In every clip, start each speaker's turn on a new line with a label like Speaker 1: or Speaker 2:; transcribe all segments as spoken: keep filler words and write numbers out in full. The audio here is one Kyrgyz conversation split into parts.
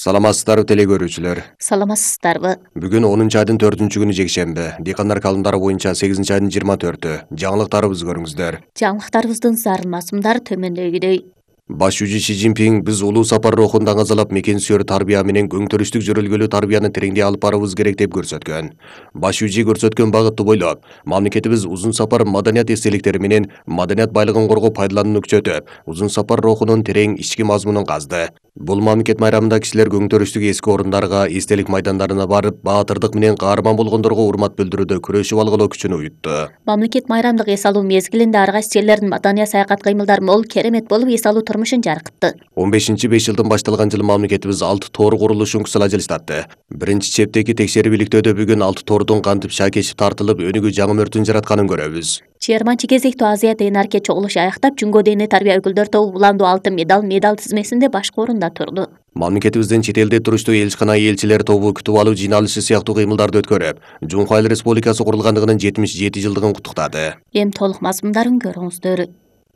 Speaker 1: Саламатсыздарбы теле көрүүчүлөр.
Speaker 2: Саламатсыздарбы.
Speaker 1: Бүгүн онунчу айдын төртүнчү күнү жекшемби. Дыйкандар календары боюнча сегизинчи айдын жыйырма төртү. Жаңылыктарыбызды көрүңүздөр.
Speaker 2: Жаңылыктарыбыздын зарыл мазмундары төмөндөгүдөй.
Speaker 1: Баш жүзү Си Цзиньпин биз улуу сапар рухун даңазалап мекен сүйөр тарбия менен көңтөрүштүк жөрөлгөлүү тарбияны тереңдей алып барабыз керек деп көрсөткөн. Баш жүзү көрсөткөн багытты бойлоп, мамлекетибиз узун сапар маданият эстеликтери менен маданият байлыгын коргоо пайдаланууну күчөтүп, узун сапар рухунун терең ички мазмунун казды. Бул мамлекет майрамында кишилер көңтөрүштүк эски орундарга, эстелик майдандарына барып, баатырдык менен каарман болгондорго урмат билдирүүдө күрөшүп алгылоо күчүн уютту.
Speaker 2: Мамлекет майрамдык эс алуу мезгилинде ар кайсы жерлердин маданий саякат кыймылдары мол, керемет болуп эс алуу турмушун жаркытты.
Speaker 1: он бешинчи беш жылдын башталган жылы мамлекетибиз алты тоор курулушун кысыла жылыштатты. Биринчи чептеги текшерип иликтөөдө бүгүн алты тоордун кантип шаакешип тартылып, өнүгүү жаңы мөртүн жаратканын көрөбүз.
Speaker 2: жыйырманчы кезектүү Азия Тенарке чогулушу аяктап, Жүнгө Дене тарбия өкүлдөр тобу уландуу алтын медаль медаль тизмесинде башкы орунда турду.
Speaker 1: Мамлекетибиздин чет элде туруштуу элчикана элчилер тобу күтүп алуу жыйналышы сыяктуу кыймылдарды өткөрүп, Жумху Айыл Республикасы курулгандыгынын жетимиш жети жылдыгын куттуктады.
Speaker 2: Эми толук мазмундарын көрүңүздөр.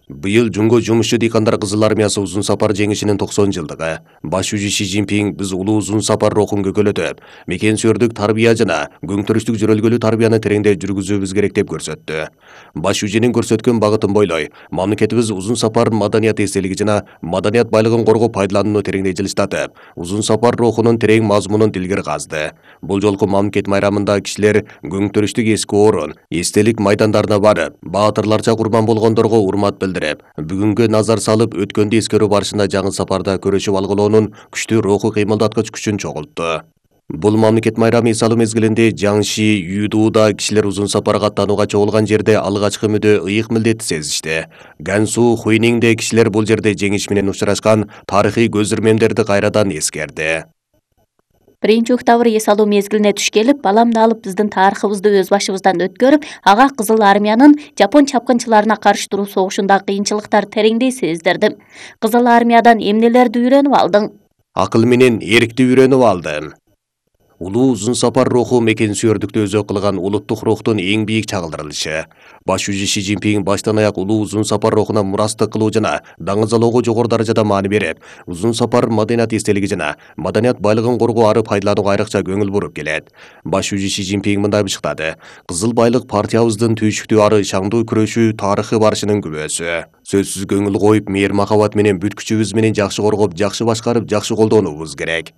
Speaker 1: Быйыл Жумго жумушчу дыйкандар кызыл армиясы узун сапар жеңишинин токсон жылдыгы. Баш жүзү Си Цзиньпин биз улуу узун сапар рухун көкөлөтүп, мекен сүйөрдүк тарбия жана көңтөрүштүк жөрөлгөлүү тарбияны тереңдей жүргүзүүбүз керек деп көрсөттү. Баш жүзүнүн көрсөткөн багытын бойлой, мамлекетибиз узун сапар маданият эстелиги жана маданият байлыгын коргоо пайдаланууну тереңдей жылыштатып, узун сапар рухунун терең мазмунун дилгер казды. Бул жолку мамлекет майрамында кишилер көңтөрүштүк эски орун, эстелик майдандарына барып, баатырларча курман болгондорго урмат билдирди. Бүгүнгө назар салып, өткөндү эскерүү барышында жаңы сапарда көрөшүп алгылоонун күчтүү руху кыймылдаткыч күчүн чогултту. Бул мамлекет майрамы эс алуу мезгилинде Жаңши, Юдууда кишилер узун сапарга аттанууга чогулган жерде алгачкы мүдө ыйык милдетти сезишти. Гансу, Хуйниңде кишилер бул жерде жеңиш менен учурашкан тарыхый көзүрмемдерди кайрадан эскерди.
Speaker 2: Биринчи октябрь эс алуу мезгилине туш келип, баламды алып биздин тарыхыбызды өз башыбыздан өткөрүп, ага Кызыл армиянын жапон чапкынчыларына каршы туруу согушундагы кыйынчылыктарды тереңдей сездирдим. Кызыл армиядан эмнелерди үйрөнүп алдың?
Speaker 1: Акыл менен эркти үйрөнүп алдым. Улуу узун сапар руху мекен сүйөрдүктү өзөк кылган улуттук рухтун эң бийик чагылдырылышы. Баш жүзү Си Цзиньпин баштан аяк улуу узун сапар рухуна мурастык кылуу жана даңазалоого жогору даражада маани берип, узун сапар маданият эстелиги жана маданият байлыгын коргоо ары пайдаланууга айрыкча көңүл буруп келет. Баш жүзү Си Цзиньпин мындай бышыктады: кызыл байлык партиябыздын түйшүктүү ары шаңдуу күрөшүү тарыхы барышынын күбөсү. Сөзсүз көңүл коюп, мээр махабат менен бүт күчүбүз менен жакшы коргоп, жакшы башкарып, жакшы колдонуубуз керек.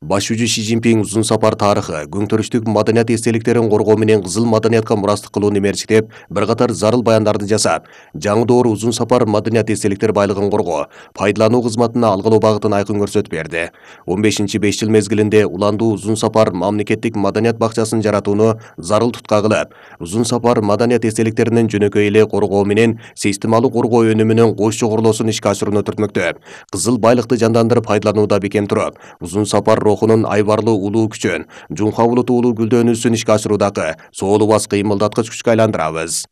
Speaker 1: Баш жүзү Си Цзиньпин узун сапар тарыхы, көңтөрүштүк маданият эстеликтерин коргоо менен кызыл маданиятка мурастык кылууну мерчиктеп, бир катар зарыл баяндарды жасап, жаңы доор узун сапар маданият эстеликтер байлыгын коргоо, пайдалануу кызматына алгылоо багытын айкын көрсөтүп берди. он бешинчи беш жыл мезгилинде уландуу узун сапар мамлекеттик маданият бакчасын жаратууну зарыл тутка кылып, узун сапар маданият эстеликтеринин жөнөкөй эле коргоо менен системалуу коргоо өнүмүнүн кош чогорулуусун ишке ашырууну түртмөктөп, кызыл байлыкты жандандырып пайдаланууда бекем туруп, узун сапар рухунун айбарлуу улуу күчөн, Жумха булуту улуу гүлдөнүүсүн ишке ашыруудагы соолу бас кыймылдаткыч күчкө айландырабыз.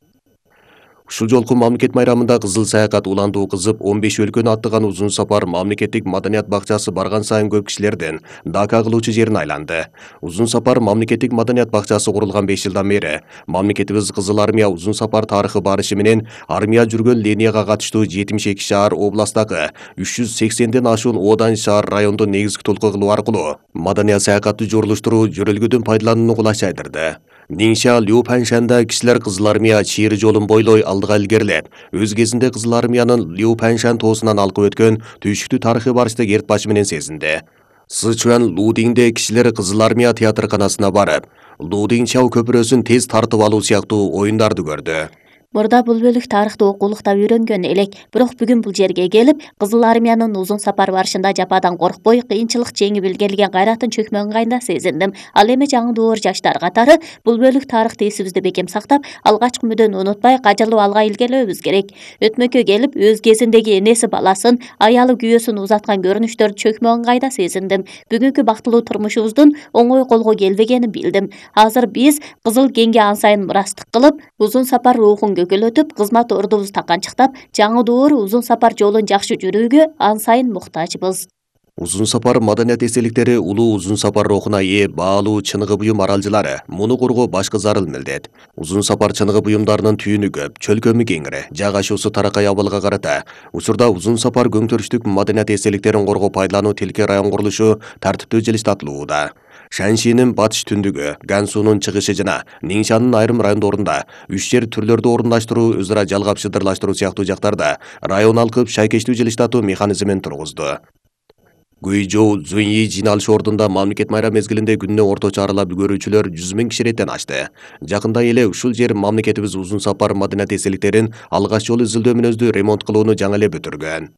Speaker 1: Ушул жолку мамлекет майрамында кызыл саякат уландуу кызып, он беш өлкөнү аттаган узун сапар мамлекеттик маданият бакчасы барган сайын көп кишилердин дака кылуучу жерин айланды. Узун сапар мамлекеттик маданият бакчасы курулган беш жылдан бери мамлекетибиз Кызыл армия узун сапар тарыхы барышы менен армия жүргөн линияга катыштуу жетимиш эки шаар областтагы үч жүз сексенден ашуун оодан шаар райондун негизги толку кылуу аркылуу маданият саякатты жорулуштуруу жөрөлгөдөн пайдаланууну кулайчайдырды. Ниңша Лю-Паньшанда кишилер Кызыл армия чийри жолун бойлой алдыга илгерилеп, өз кезинде Кызыл армиянын Лю-Паньшан тоосунан алкып өткөн түйшүктүү тарыхый барышты керт башы менен сезинди. Сычуан Лудиңде кишилер Кызыл армия театрканасына барып, Лудиң-Чау көпүрөсүн тез тартып алуу сыяктуу оюндарды көрдү.
Speaker 2: Мурда бул бөлүк тарыхты окуулукта үйрөнгөн элек, бирок бүгүн бул жерге келип, Кызыл армиянын узун сапар барышында жападан коркпой, кыйынчылык жеңип илгерилген кайратын чөкмө ыңгайында сезиндим. Ал эми жаңы доор жаштар катары бул бөлүк тарыхты эсибизде бекем сактап, алгачкы мүдөнү унутпай, кажылуу алга илгерилөбүз керек. Өтмөккө келип, өз кезиндеги энеси баласын, аялы күйөөсүн узаткан көрүнүштөрдү чөкмө ыңгайда сезиндим. Бүгүнкү бактылуу турмушубуздун оңой колго келбегенин билдим. Азыр биз Кызыл кеңге ан сайын мурастык кылып, узун сапар рухун көкөлөтүп, кызмат ордубузду таканчыктап, жаңы доор узун сапар жолун жакшы жүрүүгө ан сайын муктажбыз.
Speaker 1: Узун сапар маданият эстеликтери улуу узун сапар рухуна ээ баалуу чыныгы буюм аралжылары муну коргоо башкы зарыл милдет. Узун сапар чыныгы буюмдарынын түйүнү көп, чөлкөмү кеңири, жайгашуусу таракай абалга карата. Учурда узун сапар көңтөрүштүк маданият эстеликтерин коргоо пайдалануу тилке район курулушу тартиптүү жылыштатылууда. Шаншинин батыш түндүгү, Гансунун чыгышы жана Ниңшанын айрым райондорунда үч жер түрлөрдү орундаштыруу, өз ара жалгап шыдырлаштыруу сыяктуу жактарда район алкып шайкештүү жылыштатуу механизмин тургузду. Гуйжоу Зуньи жыйналыш ордунда мамлекет майрам мезгилинде күнүнө орточо аралап көрүүчүлөр жүз миң киширеттен ашты. Жакында эле ушул жер мамлекетибиз узун сапар маданият эстеликтерин алгач жолу изилдөө мүнөздүү ремонт кылууну жаңы эле бүтүргөн.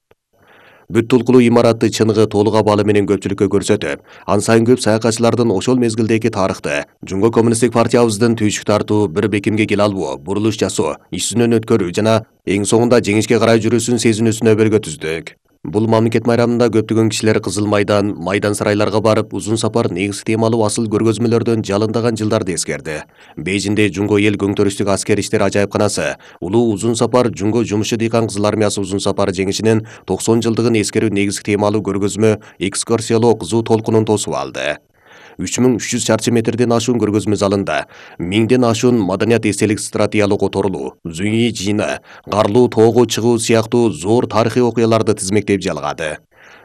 Speaker 1: Бүт толкулуу имаратты чыныгы толук абалы менен көпчүлүккө көрсөтүп, ан сайын көп саякатчылардын ошол мезгилдеги тарыхты, Жумго коммунисттик партиябыздын түйшүк тартуу, бир бекимге кел албоо, бурулуш жасоо, иш-сүнөн өткөрүү жана эң соңунда жеңишке карай жүрүүсүн сезинүүсүнө белги түздүк. Бул мамлекет майрамында көптөгөн кишилер Кызыл майдан, майдан сарайларга барып, узун сапар негизги темалуу асыл көргөзмөлөрдөн жалындаган жылдарды эскерди. Бейжинде Жумго эл көңтөрүштүк аскер иштер ажайыпканасы, улуу узун сапар Жумго жумушу дыйкан кызыл армиясы узун сапар жеңишинин токсон жылдыгын эскерүү негизги темалуу көргөзмө экскурсиялоо кызуу толкунун тосуп алды. үч миң үч жүз чарчы метрден ашуун көргөзмө залында миңден ашуун маданият эстелик стратегиялык оторулуу, Зуньи жыйыны, Карлуу тоого чыгуу сыяктуу зор тарыхый окуяларды тизмектеп жалгады.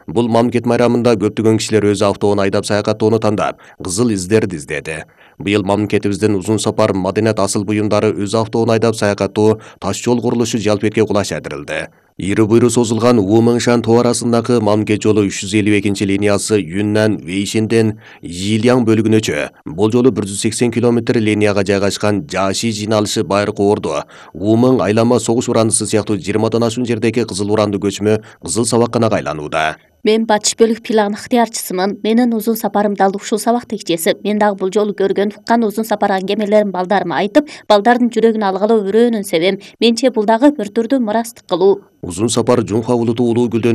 Speaker 1: Бул мамлекет майрамында көптөгөн кишилер өз автоун айдап саякаттоону тандап, кызыл издерди издеди. Быйыл мамлекетибиздин узун сапар маданият асыл буюмдары өз автоун айдап саякаттоо таш жол курулушу жалпетке кулаш адырылды. Ири буйру созулган Умыңшан тоо арасындагы мамлекет жолу үч жүз элүү экинчи линиясы Юннан Вейшинден Йилияң бөлүгүнөчө, бул жолу бир жүз сексен километр линияга жайгашкан Жаши жыйналышы Байыркы Орду, Умың айлама согуш уранысы сыяктуу жыйырмадан ашуун жердеги кызыл уранды көчмө кызыл сабакканага айланууда.
Speaker 2: Мен батыш бөлүк план ыктыярчысымын. Менин узун сапарым дал ушул сабак текчеси. Мен дагы бул жолу көргөн, уккан узун сапар аңгемелерин балдарыма айтып, балдардын жүрөгүн алгылоо өрөөнүн себем. Менче бул дагы бир түрдүү мурастык кылуу.
Speaker 1: Узун сапар Жумха улуту улуу гүлдөнүп